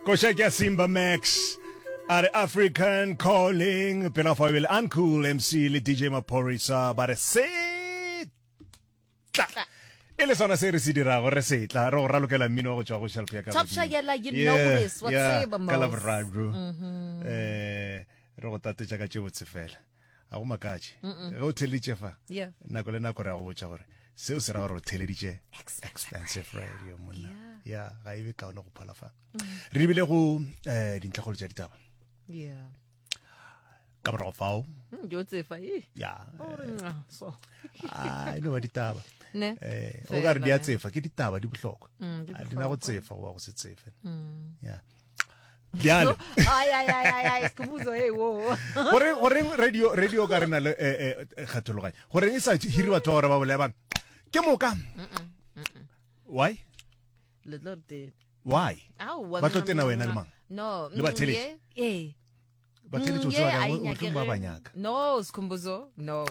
Koša ke ya Simba Max a re African Calling pela fa bele Uncool MC le DJ Maphorisa ba re se tla e le sona se re se dirago re se tla re go ralokela mmino wa go tšwa go shelf ya ka Top godimo. Shagela, you know Yeah, this. Wa yeah, tseba ka mos. la boraro eh re go tatetša ka tše botse fela ga go makatše ge o theleditše fa Yeah. nako le nako re a go botša gore seo se ra gore o theleditše expensive radio monna ya ga e be kaone go phola fa re ebile go um dintlhakgolo tša ditaba Yeah. ka morago fao Mm, di o tsefa eh. ya O re, "Mwah," so. a e no ba ditaba Ne. eh o ka re di a Fela, ne. tsefa ke ditaba di bohlokwa Mm, di A di na go bohlokwa. tsefa goba go se tsefe ya bjale Ai, ai, ai, ai, ai, Skhumbuzo, hey, wo. goreng goreng radio radio ka rena le eh, eh, kgethologanyo goreng e sa hire batho ba gore ba bolaya bang ke moka why Le tlo re tena. why Aowa, Ba tlo tena wena le mang? No. Le batheletši? ye, eh. batheletši o Mm, tseba ye, a kang e o tlo ba nyakege. ba nyaka No, Skhumbuzo, no.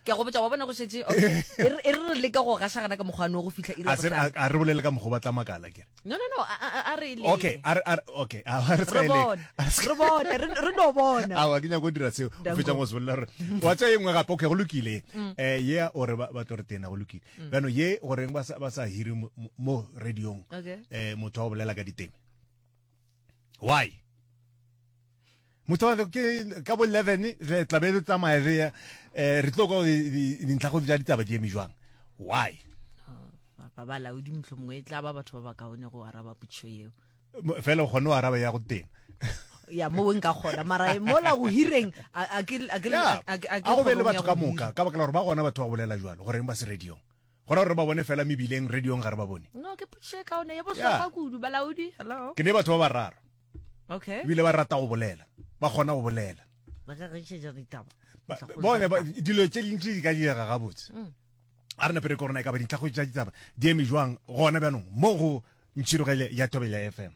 Ke a go botša wa bona go šetše okay. E re e re re leka go gašagana ka mokgwa no go fihla iri ya a se bohlano. a re bolele ka mokgwa ba tla makala kere No, no, no, a a- a re le. okay a re a re okay a re se Re ka e leka. bone. A re se ka- Re bone, re re no bona. awa ke nyako go dira seo o Danko. fetsa go se bolela gore wa tsaya e nngwe gape okay go lokile um ye ore ba ba tlo re tena go lokile bjano ye goreng ba sa ba sa hire mo- mo mo radiong Okay. um motho wa go bolela ka diteme why motho wa ke ka bo 11 re tla be re tsamaya re ya eh, re tlo kwa dintlha go tša ditaba di eme jwang why ba balaodi motlho mongwe e tla ba batho ba ba kaone go araba potšišo yeo fela o kgone go araba ya go tena ya mo nka kgona mara e mola go hireng a ke a ke a go be le batho ka moka ka baka la gore ba gona batho ba bolela jalo goreng ba se radiong gona gore ba bone fela mebileng radiong ga re ba bone no ke potšišo e kaone ya bohlokwa kudu balaodi hello ke ne batho ba bararo okay ebile ba rata go bolela ba kgona go bolela ba ka rekišetša ditaba bone dilo tše dintši di ka direga gabotse mm. a re napere korona e ka ba dintlhago tša ditaba di eme jwang gona bjanong mo go ntšhirogele ya thobela fm.